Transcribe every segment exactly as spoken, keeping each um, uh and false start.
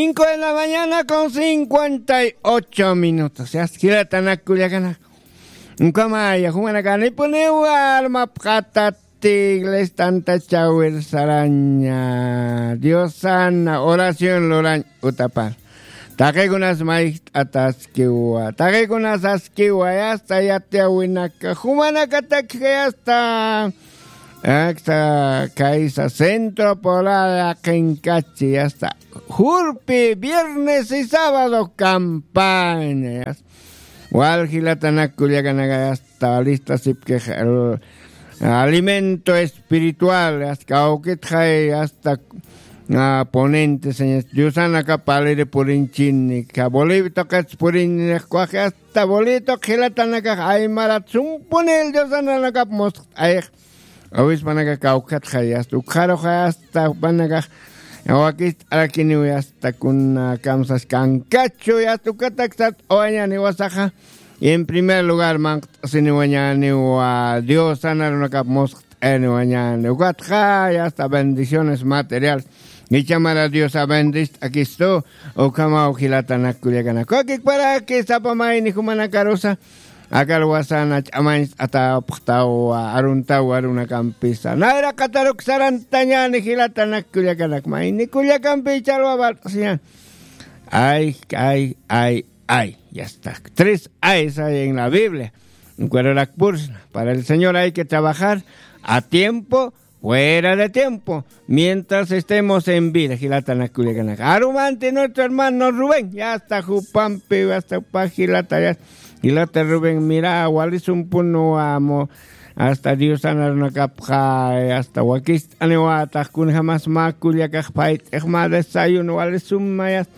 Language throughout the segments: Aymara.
Cinco de la mañana con cincuenta y ocho minutos. Ya, jilatanak kullakanak. Ukamaya, jumanakanipuniwa, armapxatat iglesia tanta chawir saraña. Diosana oración lurañ utapar. Taqikunas mayjt'ataskiwa. Taqikunas askiwa, ya está, yatiyawinaka. Jumanakatak ya está. Aksa kaysa centro poblada qinkachi, ya está. Jurpi, viernes y sábado campaña, ya está. Wal jilatanak kullakanaka, ya está, lista sipkix el alimento espiritual, ya está, kawkitxay, ya está, ah, ponente, señor. Diosanaka paliri purinchini, ka Bolivia toqats purinchini, ya está, Bolivia toq jilatanakax aymarat sumpunil Diosananakap musqt'ayx. Awispanaka kawkatxay, ya está, ukxaruxay, ya está, jupanakax wakist'arakiniw, ya está, kuna kamsas kankachu, ya está, ukatak sat awañani wasaxa. Y en primer lugar, manqt'asiniwañaniwa Dios sanarunakap musqt'aniwañani. Ukatxa, ya está, bendiciones material. Ichamara Dios a bendist akistu, ukamaw jilatanak kullakanak. Wakikparaki sapa mayni jumanakarusa. Akar wasana ch'amañcht'atapxtawa, aruntawa, arunakampisa. Nayra qataruk sarantañani jilatanak kullakanak. Mayni kullakampi chalwa bart'siñan. Ay, ay, ay, ay. Ya está. Tres ay hay en la Biblia. Ukararak pursna. Para el Señor hay que trabajar a tiempo, fuera de tiempo, mientras estemos en vida, jilatanak kullakanak. Arumanti nuestro hermano Rubén, ya está jupampi, ya está jupa jilata, ya, jilata Rubén, mira, wali sumpunwa, hasta Dios sanarunakapxay, hasta wakist'aniwatax, kunjamas mä kullakax payt'ix mä desayuno, wali suma, ya está.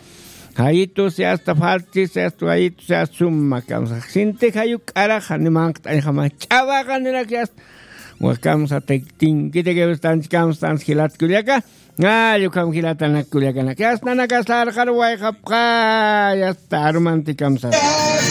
Jayitus, ya está, faltis, ya está, jayitus, ya está, suma kamsa. Sinti jayuk k'araxa, ni manqt'añjama, ch'awaxa, nirak, ya está. Wakamsa tinkiti que están kamsa jilat kullaka. Ay, ukam jilatanak kullakanak. Ya está, nakas larqar wayqapxa, ya está, arumanti kamsa.